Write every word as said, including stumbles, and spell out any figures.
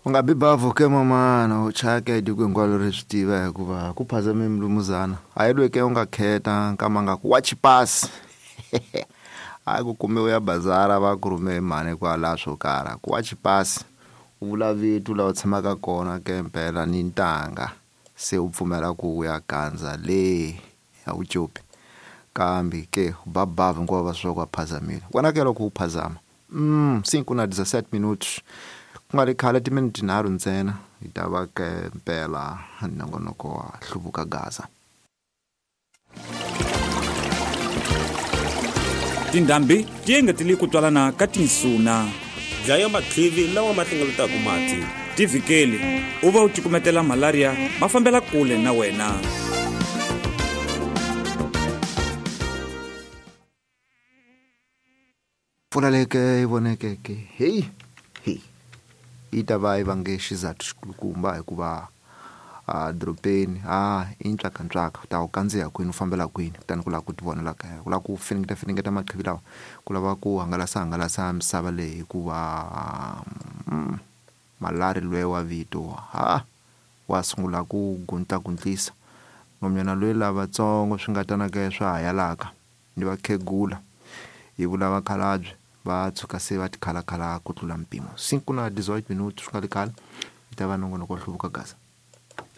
U nga bi bavhu ke mamana u chaya ke tiko hinkwalo ri swi tiva hikuva ku phazame mulumuzana a yi lweke u nga kheta nkama nga ku wa chipasi a ku kume u ya bazara va ku rhume hi mhani kwala swo karhi ku wa chipasi u vula vito laha u tshamaka kona ke mpela ni ntanga se u pfumela ku u ya gandza le a wu copi kambe ke u ba bavhu hinkwavo va swi ku a phazamile wena ke loko u phazama mm cinco na dezessete minutos ku nga ri khale timinete tinharhu ntsena hi ta va ke mpela nongonoko wa hluvuka gaza. Tindhambi ti engetele ku twalana ka tinsuna. Dlaya matlivi lawa ma hlengeletaka mati. Tivhikeli u va u cukumetela malaria ma fambela kule na wena. Mpfula leyi ke yi vonekeke heyi heyi yi ta va yi vange xizathu xikulukumba hikuva a dorobeni a i ntswakantswaka u ta u kandziya kwini u fambela kwini kutani ku lava ku tivonela kaya ku lava ku finingeta finingeta maqhivi lawa ku lava ku hangalasa hangalasa misava leyi hikuva mm, malari lwe wa vito ha wa sungula ku guntlaguntlisa nomnyana loyi lavatsongo swi nga tanaka swa ha yalaka ni vakhegula hi vula vakhalabye va tshuka se va tikhalakhala ku tlula mpimo cinco na dezoito minutos swi nga ri khale yi ta va nongonoko wa hluvuka gaza.